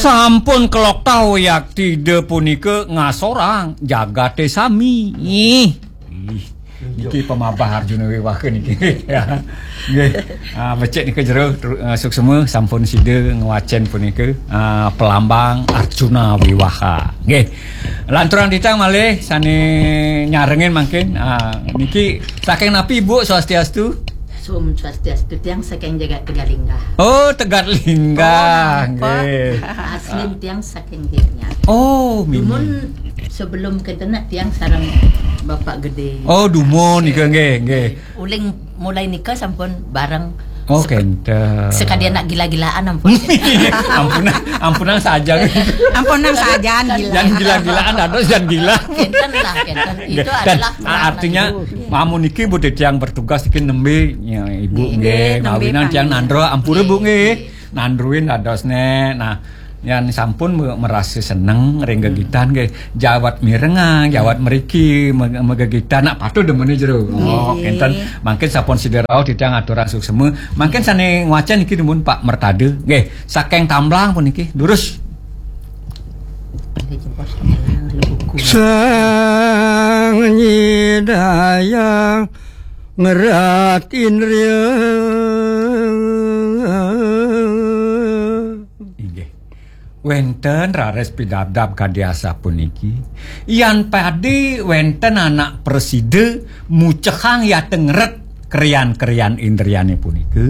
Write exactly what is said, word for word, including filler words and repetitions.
Sampun kelokta wiakti Ida punika ngasorang jagate sami. Ih. Ih, niki pamabah Arjuna Wiwaha niki. Ya. Nggih. Ah, becik nika jero, tru- ah, suksma sampun sida ngwacen punika, ah, pelambang Arjuna Wiwaha. Nggih. Lanturang titiang malih sane nyarengin mangkin. Ah, niki saking napi, Ibu, swastiastu? Om Swastiastu, tiang saking jagat Tegalinggah. Oh, Tegalinggah. Oh, napa? Nggih. Asli tiang saking Gianyar. Oh, mimi. Dumun sebelum kenten tiang sareng Bapak Gede. Oh, dumun nika nggih, nggih. Uling mulai nika sampun bareng. Oh, sek- kenten. Sekadi anak gila-gilaan ampun. Ampunang, ampunang saja. Ampunang saja, gila. Jangan gila-gilaan, dados jangan gila. Kenten lah, kenten. Itu dan, adalah ah, artinya, amun niki Bu titiang bertugas niki nembe, ya, Ibu nggih, nggih, nembe mawinan tiang panggilan. Nandra, ampura Bu nggih. Nandruin dados nek. Nah, yang sampun me- merasa seneng ring gegitan nggih. Jawat mirengang, jawat meriki, me- megegitan, nak patuh demene jero. Oh, nggih. Kenten. Mangkin sampun sida rauh titiang aturang suksma. Mangkin sane ngwacen niki dumun Pak Mertade. Nggih, saking Tamblang puniki. Lurus. Sang nyidayang ngerat indria. Inggih. Wenten raris pidabdab kadi asapuniki. Yan padi wenten anak presida mucehang yateng ngeret krian-krian indriane punika.